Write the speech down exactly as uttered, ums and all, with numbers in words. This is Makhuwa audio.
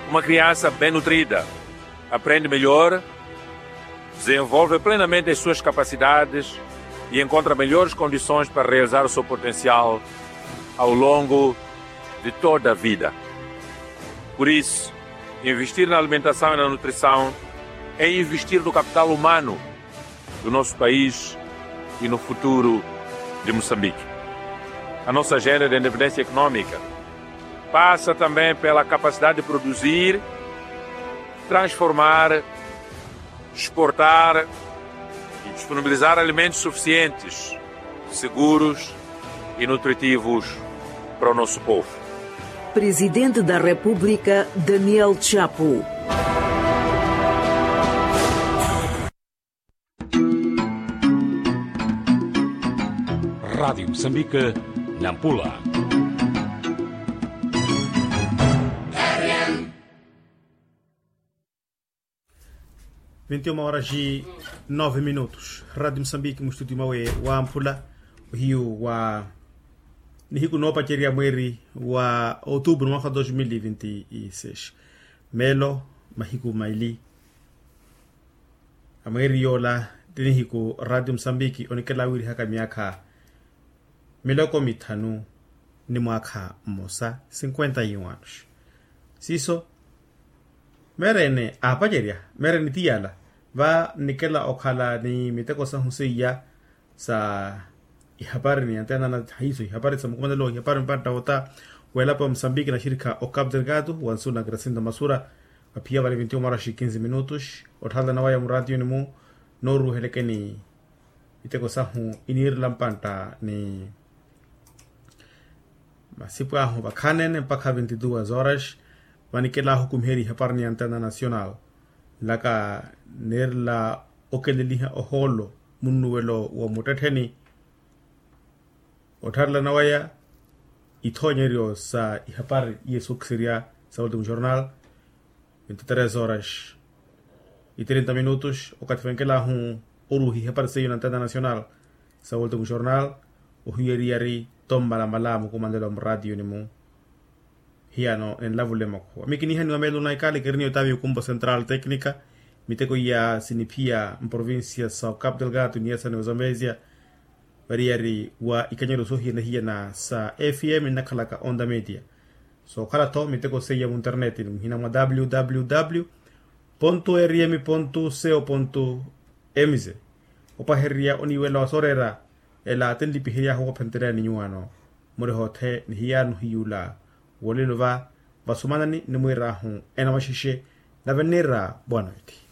Uma criança bem nutrida aprende melhor, desenvolve plenamente as suas capacidades e encontra melhores condições para realizar o seu potencial ao longo de toda a vida. Por isso, investir na alimentação e na nutrição é investir no capital humano do nosso país e no futuro de Moçambique. A nossa agenda de independência econômica passa também pela capacidade de produzir, transformar, exportar e disponibilizar alimentos suficientes, seguros e nutritivos para o nosso povo. Presidente da República, Daniel Chapo. Rádio Moçambique, Nampula. Vinte e uma horas e nove minutos. Rádio Moçambique, mu estúdio mawe wa Nampula, ohiyu wa nihiku noopacerya mweeri wa outubro, mwaka wa dois mil e vinte e seis. Meelo mahiku maili a mweeri yoola, ti nihiku Rádio Moçambique onikela wiirihaka myaakha miloko mithanu ni mwaakha mmosa, cinquenta e um anos. Siiso meerene aapacerya, meerene ti yaala, va nnikela okhala ni miteko sahu seiya sa ihapari ni antena na haiso ihapari sa mukumanelo ihapari mpantta wota weelapa wa Moçambique na xirikha o Cabo Delgado, wa nsu na Gracinda Masura. Vaphiya vale vinte e uma horas e quinze minutos. Otthalana waya muraatiyoni-mu nooruuhelekeni miteko sahu iniirela mpantta ni masipu ahu vakhaneene mpakha vinte e duas horas. Vanikela ahukumiherya ihapari ni antena nacional nlaka neerela okeleliha ohoolo munnuwelo wa muttettheni. Ottharelana waya ithoonyeryo sa ihapari iye sookiserya sa ultimo jornal, vinte e três horas e trinta minutos. Okathi vankelaahu oruuha ihapari seiyo na antena nacional sa ultimo jornal, ohiweriyari tommalamala mukumanelo a muraatiyoni-mu. Hiyano ninlavule makhuwa mikinihaniwa meelo na ikali keriniyo taavi okumpo central tecnica. Miteko iya siniphiya mprovincia sa o Cabo Delgado niyasani wa Zambezia, variyari wa ikanyero soohiyana-hiyana sa fm nnakhalaka onda media. Sookhala-tho miteko seiya munterneti ni muhina mwa www rm co mz. Opahererya oniiwela wa sooreera ela tinlipihery'ahu wophentereya ni nyuwaano. Muri hoothe ni hiyano hiyuula wolelo va vasumanani ni mwiir'ahu ena maxexe. Nave nniira boa noite.